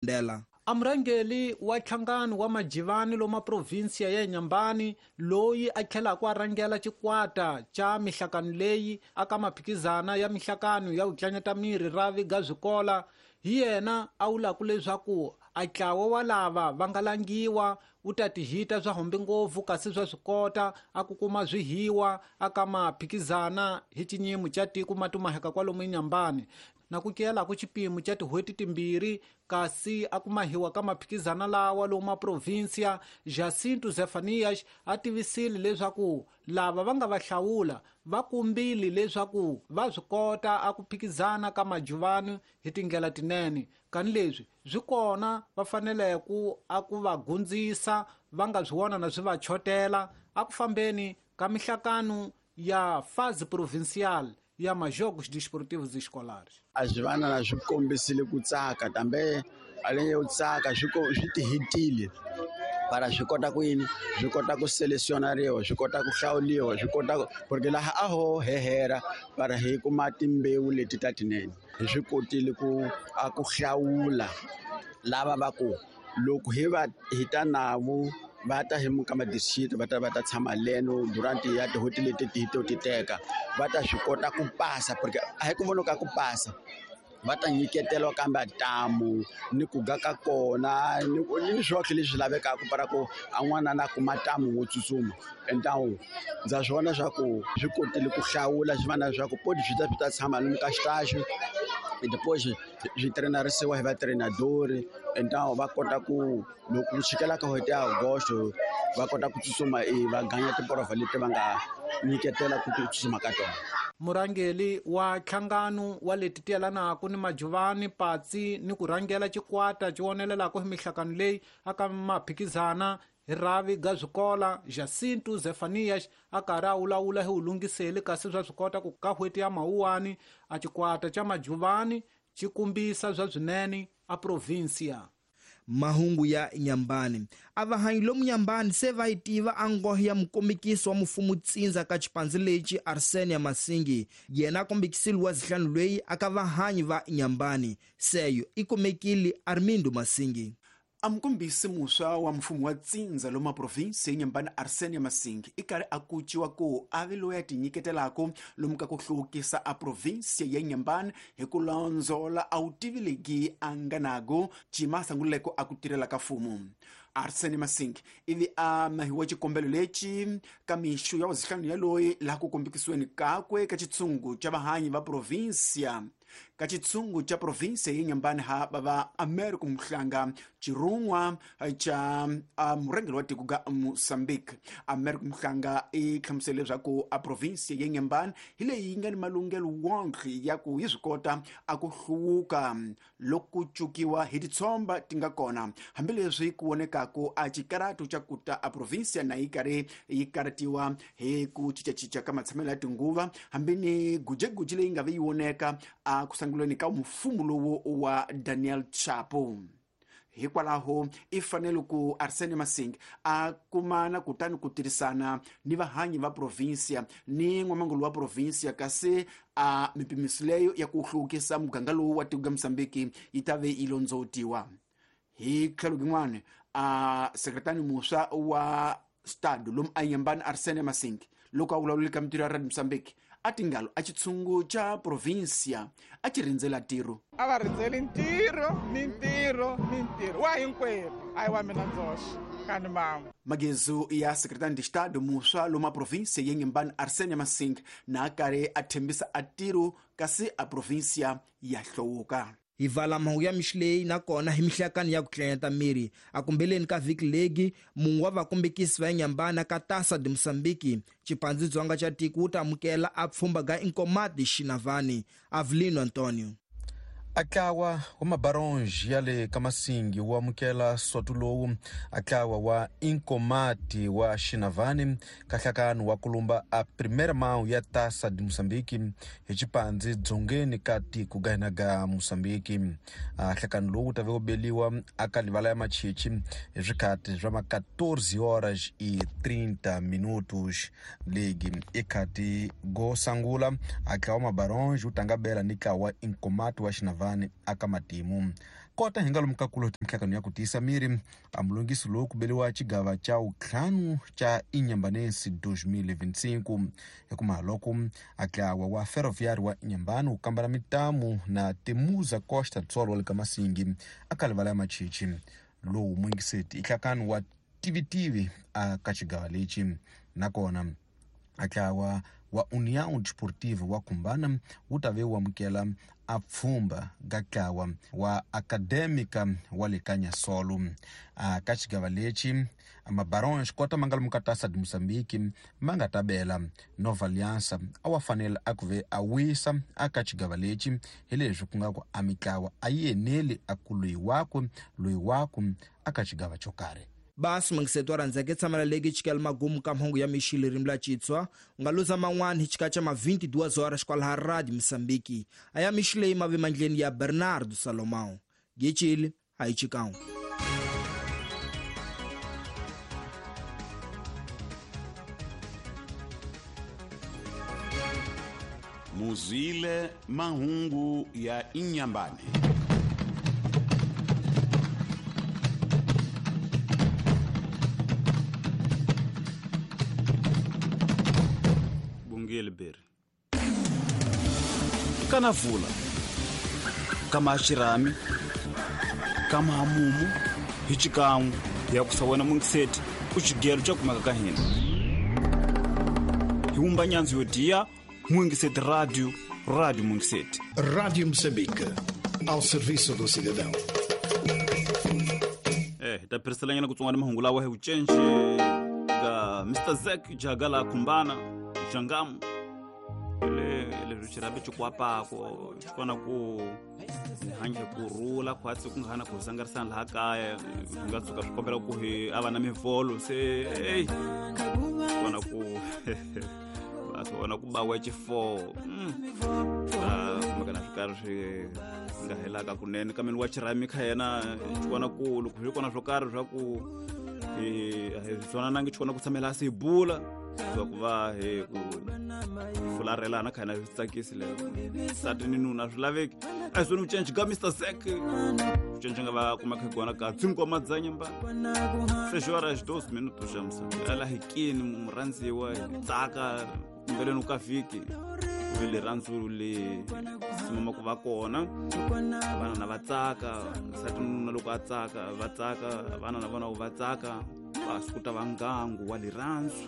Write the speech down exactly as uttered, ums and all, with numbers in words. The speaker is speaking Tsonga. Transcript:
Ndela. A murhangeri wa nhlangano wa majivani loma provinsia ya Inhambane loyi a tlhelaka a rhangela xikwata xa mihlakano leyi aka maphikizana ya mihlakano ya ku tlanyata miri ra ga swikola hi yena a vulaka leswaku a ntlawa wa lava va nga langiwa wu ta tihita swa hombe ngopfu kasi swa swi kota a ku kuma swihiwa aka maphikizana hi xinyimo xa tiko matumaheka kwalomu Inhambane na ku kela ku xipimo xa tin'hweti timbirhi kasi a kumahiwa ka maphikizana lawa lomu maprovinsia Jacinto Zefanias a tivisile leswaku lava va nga va hlawula va kumbile leswaku va swi kota a ku phikizana ka majuvani hi tindlela tinene kani leswi swi kona va fanele ku a ku va gundzisa va nga swi vona na swi va chotela a ku fambeni ka mihlakano ya fase provincial ya majogos desportivos escolares. A swi vana na swi kombisile ku tsaka kambe aleng yo tsaka swi swi tihitile para swi kota ku yini swi kota ku selecionariwa swi kota ku hlawuliwa swi kota porque laha a ho hehera para hi kuma timbewu leti ta tinene hi swi kotile ku a ku hlawula lava va ku loko hi va hi ta navo va ta hi muka madisiti va ta va ta tshama leno durant ya tin'hweti leti ti to ti teka va ta swi kota ku pasa porque a hi ku vona ka ku pasa va ta nyiketelwa kambe ntamu ni ku ga ka kona ni ni swohle leswi lavekaka para ku a n'wana na kuma ntamu wo tsutsuma entawu ndza swi vona swa ku swi kotile ku hlawula swi vana swa ku podi swi ta swi ta tshama lomu ka xitaxi depois swi trenarisiwa hi vatrenadori entawu va kota ku loko ku chikela ka n'hweti ya Agosto va kota ku tsutsuma va ganya tiporovha leti va nga nyiketela ku tsutsuma ka tona. Murhangeri wa nhlangano wa leti tiyelanaka ni majuvani patsi ni ku rhangela xikwata xi vonelelaka hi mihlakano leyi aka maphikizana hi rhavi ga swikola Jacinto Zefanias a karhi a vulavula hi vulungiseli kasi swa swi kota ku ka n'hweti ya Mawuwani a xikwata xa majuvani xi kumbisa swa swinene a provinsia. Mahungu ya Inhambane. A vahanyi lomu Inhambane se va yi tiva a nghohe ya mukombekiso wa mfumo tsindza ka xipandzi lexi Arsenia Masingi yena a kombekisile wa zihlanu loyi aka vahanyi va Inhambane seyo i kumekile Armindo Masingi. A mukombisi muswa wa mfumo wa tsindza loma provinsi ya Inhambane Arsenia Masingi i karhi a kuciwa ku a ve loyi a tinyiketelaka lomu ka ku hluvukisa a provinsi ya Inhambane hi ku londzola a wu tivi legi a nga nago cima a sunguleke a ku tirhela ka mfumo. Arsene Masingi ivi a mahiwa xikombelo lexi ka mixo ya wazihlanu ya loyi laha ku kombekisiweni kakwe ka xitshungu xa vahanyi va provinsia ka xitshungu xa provinsia ya Inhambane ha va Americo Mhlanga xirhun'wa xa murhangeri wa tiko ga Mozambique. Americo Mhlanga i hlamusele leswaku a provinsia ya Inhambane hi leyi yi nga ni malunghelo wonke ya ku yi swi kota a ku hluvuka loko ku cukiwa hi titshomba ti nga kona hambileswi ku vonekaka a xikarato xa ku ta a provinsia na yi karhi yi karatiwa hi ku cincacinca ka matshamelo ya tinguva hambi ni gujeguji leyi nga ve yi voneka a ku sunguleni ka mfumo lowu wa Daniel Chapo. Hikwalaho i fanele ku Arsene Masingi a kumana kutani ku tirhisana ni vahanyi va provinsia ni n'wamangulu wa provinsia kasi a mipimiso leyo ya ku hluvukisa muganga lowu wa tiko ga Mozambique yi ta ve yi londzotiwa. Hi tlhelo rin'wana a sekretari muswa wa stade lomu a Inhambane Arsene Masingi loko a vulavulile ka mintirho ya Radio Mozambique a tingalo a xitshungu xa provinsia a xi rindzela ntirho. A va rindzeli ntirho ni ntirho ni ntirho wa hinkwerhu a yi wa mina ndzoxe kani mama. Magezu ya sekretari de estado muswa loma provinsia ya Inhambane Arsene Masingi na a karhi a thembisa a ntirho kasi a provinsia ya hluvuka. Hi vala mahungu ya mixo leyi nakona hi mihlakani ya ku tlanyata miri a kumbeleni ka vhiki legi munhu wa vakombekisi va Inhambane ka Taça de Moçambique xipandzi dzonga xa tiko wu ta amukela a pfhumba ga Inkomati Xinavani Avelino Antonio. Atlawa wa mabaronge ya le ka Masingi wu amukela soto lowu atlawa wa Inkomati wa Xinavani ka nhlakano wa kulumba a primeira mão ya Taça de Moçambique hi xipandzi dzongeni ka tiko ga hina ga Moçambique. A nhlakano lowu wu ta ve wu beliwa aka livala ya machichi hi swikhati swa ma quatorze horas e trinta minutos. Ligi i khati go sangula atlawa mabaronge wu tanga bela ni tlawa wa Inkomati wa Xinavani aka matimu. Kota hi nga lomu ka kulo mihlangano ya ku tiyisa miri a mulungisi lowu ku beliwa xigava xa wuntlhanu xa Inhambane dois mil e vinte e cinco hikuma loko a ntlawa wa Ferroviário wa Inhambane wu kambela mitamu na Temuza Costa do Sol wa le ka Masingi a ka livala ya Machichi lowu mungiseti i nhlakano wa tivitivi a ka xigava lexi nakona a ntlawa wa União Desportiva wa Kumbana wu ta ve wu amukela a pfhumba ka ntlawa wa Acadêmica wa le ka Nyasolo a ka xigava lexi mabarons kota ma nga lomu ka Taça de Moçambique ma nga ta bela Nova Aliança a wa fanele a ku ve a wisa a ka xigava lexi hi leswi ku nga ku a mitlawa a yi eneli a ku loyi wakwe loyi wakwe a ka xigava xo karhi. Basi mungiseto wa rhandzeke tshamela leki chikela magumu ka mhungu ya mixile ririmi la Xitswa u nga luza man'wana hi xika xa ma vinte e duas horas kwalaha Radio Moçambique a ya mixile yi mavi mandleni ya Bernardo Salomão gechile a yi chikang. Muzile mahungu ya Inhambane. Kana vula kama xirhami kama hamumu hi xikan'we ya ku sawena mungiseti ku xigelo xa kumeka ka hina hi wumba nyandzu yo diya Mungiseti Radio, Rádio Mungiseti. Rádio Moçambique, ao serviço do cidadão. Eh, hi ta phiriselanyana ku tsongwana mahungu lawa hi vucenci ka Mister Zack Jagala Kumbana Jangamu le leswi xirhabi xi kwapako xi kona ku hanya hi ku rhula khwatsi ku nga ha na ku sangarisana laha kaya swi nga tshuka swi kombela ku hi a va na mivholo se ey kona ku va swi vona ku bawa xifo kumeka na swi karhi swi nga helaka kunene kambe ni wa xirhami kha yena xi kona ku loko swi kona swo karhi swa ku hi hi twananangi xi kona ku tshamela se hi bula swa ku va hi ku fularhelana kha hina swi tsakisi leyo nsati ni nuna swi laveki a hi swona vucenci ka Mister Zack vucenci nga va kumeka hi kona ka cinco dzanyamba seis horas doze minutos xa Moçambique ala hi kini murhandziwa hi tsaka mbeleni ka vhiki ku ve rirhandzu le simama ku va kona vana na va tsaka nsati nuna loko a tsaka va tsaka vana na vona va tsaka va swi ku ta va ngangu wa rirhandzu.